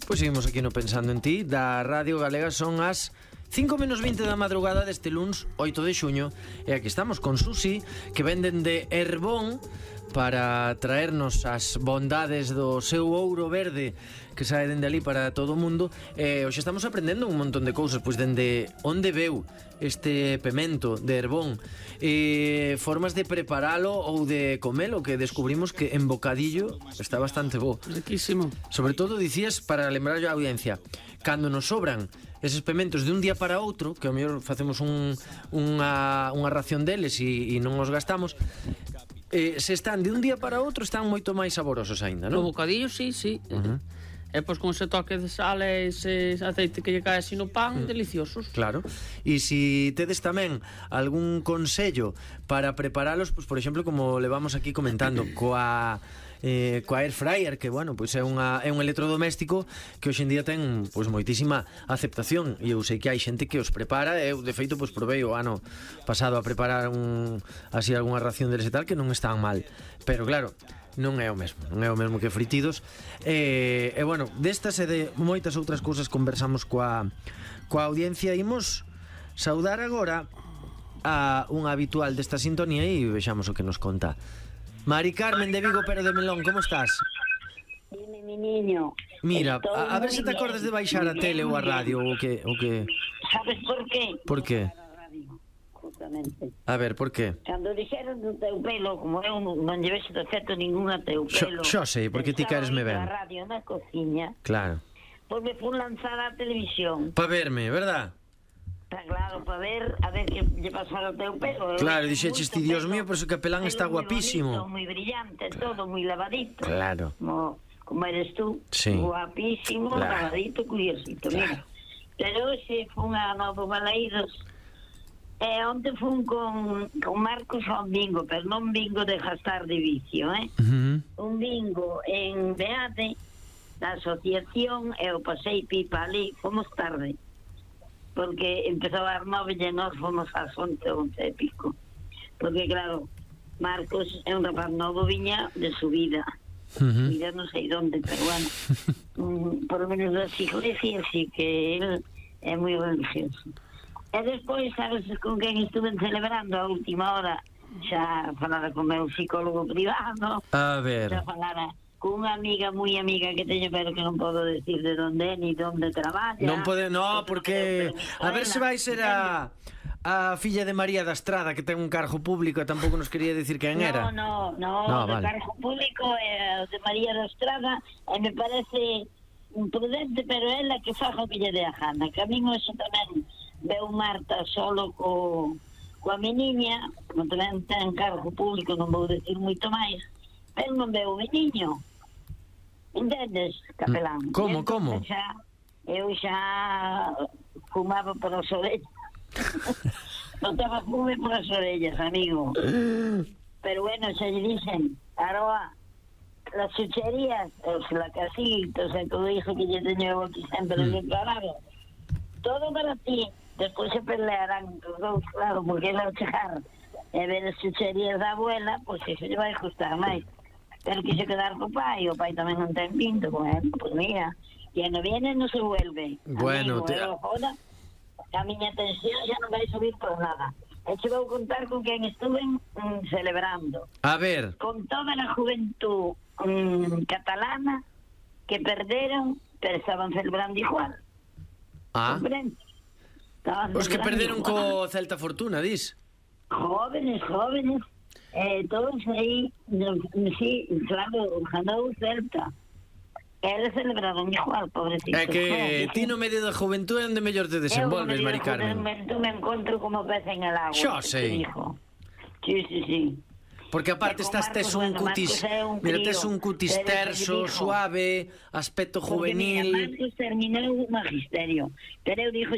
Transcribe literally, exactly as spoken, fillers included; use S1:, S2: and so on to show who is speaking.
S1: Pois seguimos aquí no Pensando en Ti da Radio Galega. Son as cinco menos vinte da madrugada deste luns oito de xuño. E aquí estamos con Susi, que venden de Herbón para traernos as bondades do seu ouro verde que sae dende ali para todo o mundo. E hoxe estamos aprendendo un montón de cousas, pois dende onde veu este pemento de Herbón, e formas de preparalo ou de comelo, que descubrimos que en bocadillo está bastante bo.
S2: Riquísimo.
S1: Sobre todo, dicías, para lembrar a audiencia, cando nos sobran eses pementos de un día para outro, que ao mellor facemos un, unha, unha ración deles e, e non os gastamos, eh, se están de un día para outro están moito máis saborosos aínda, non?
S2: No bocadillo, sí, sí.
S1: Uh-huh.
S2: E pois con ese toque de sal e ese aceite que lle cae así no pan, mm. deliciosos.
S1: Claro. E se tedes tamén algún consello para preparalos, pois por exemplo, como levamos aquí comentando, coa eh, coa air fryer, que bueno, pois é unha é un electrodoméstico que hoxe en día ten pois moitísima aceptación, e eu sei que hai xente que os prepara. Eu de feito pois provei o ano pasado a preparar un así algunha ración deles e tal, que non están mal. Pero claro, non é o mesmo, non é o mesmo que fritidos. E, e bueno, destas e de moitas outras cousas conversamos coa coa audiencia. Imos saudar agora a un habitual desta sintonía e vexamos o que nos conta. Mari Carmen de Vigo, pero de Melón, como estás?
S3: Dime, mi niño.
S1: Mira, a, a ver se te acordas de baixar a tele ou a radio ou que o que.
S3: Sabes por qué?
S1: Por qué?
S3: Justamente.
S1: A ver, por qué?
S3: Cando dixeron do teu pelo, como eu non lleves de efecto ningún a teu pelo.
S1: Xo sei, porque ti queresme ben.
S3: Na radio, na cociña.
S1: Claro.
S3: Pois me fun lanzar á televisión.
S1: Pa verme, verdad?
S3: Está claro, para ver, a ver que lle pasara o teu pelo.
S1: Claro, dixeches ti, Dios mío, por eso que Capelán está guapísimo.
S3: Moi brillante, todo moi lavadito.
S1: Claro.
S3: Como, como eres tú,
S1: sí.
S3: Guapísimo, claro. Lavadito, curiosito, claro. Mira. Pero hoxe fun a Novo Balaídos. E onte fun con, con Marcos a un bingo, pero non bingo de gastar de vicio, eh?
S1: Uh-huh.
S3: Un bingo en Beade, da asociación, e o pasei pipa ali, fomos tarde. Porque empezou a dar nove e nós fomos ás once, once e pico. Porque claro, Marcos é un rapaz novo, viña de subida. Uh-huh. Mira, non sei onde, pero bueno. um, por lo menos das iglesias, sí que él é moi religioso. E despois, sabes con quen estuve celebrando a última hora? Xa falara con meu psicólogo privado.
S1: A ver.
S3: Xa falara con unha amiga moi amiga que teño, pero que non podo decir de onde é ni de onde traballa.
S1: Non pode, no, porque a ver se vai ser a a filla de María da Estrada, que ten un cargo público, e tampouco nos quería decir quen era.
S3: No, no, no,
S1: no
S3: o vale. Cargo público é de María da Estrada, e me parece imprudente, pero ela que faja o que lle dé a gana. Que a min hoxe tamén veu Marta solo co coa meniña, como tamén ten cargo público, non vou decir moito máis, pero non veu o meniño. Entendes, Capelán?
S1: Como, como?
S3: Xa, eu xa fumaba por as orellas. Notaba fume por as orellas, amigo. Pero bueno, xa lle dicen, Aroa, las chucherías, os lacasitos, e todo iso que lle teño aquí sempre mm. declarado, todo para ti. Despois se pelearán os dous, claro, porque ela ao chegar e ver as chucherías da abuela, pois pues iso lle vai gustar máis. Pero quixo quedar co pai, o pai tamén non ten pinto con él, pois pues mira, que no viene non se vuelve.
S1: Bueno,
S3: amigo,
S1: te...
S3: joda, a miña tensión xa non vai subir por nada. E che vou contar con quen estuve mm, celebrando.
S1: A ver.
S3: Con toda a juventud mm, catalana que perderon, pero estaban celebrando igual.
S1: Ah.
S3: Comprende?
S1: Os que perderon igual. Co Celta Fortuna, dis?
S3: Jóvenes, jóvenes. Eh, todos aí, no, sí, claro, ganou Celta. Eles celebraron igual, pobrecito.
S1: É que ti no medio da juventud é onde mellor te desenvolves, Mari Carmen.
S3: Eu me encontro como pez en el agua.
S1: Xo sei.
S3: Sí, sí, sí.
S1: Porque aparte estás tes un cutis, mira, tes un cutis terso, suave, aspecto juvenil.
S3: Marcos terminou o magisterio, pero eu dixo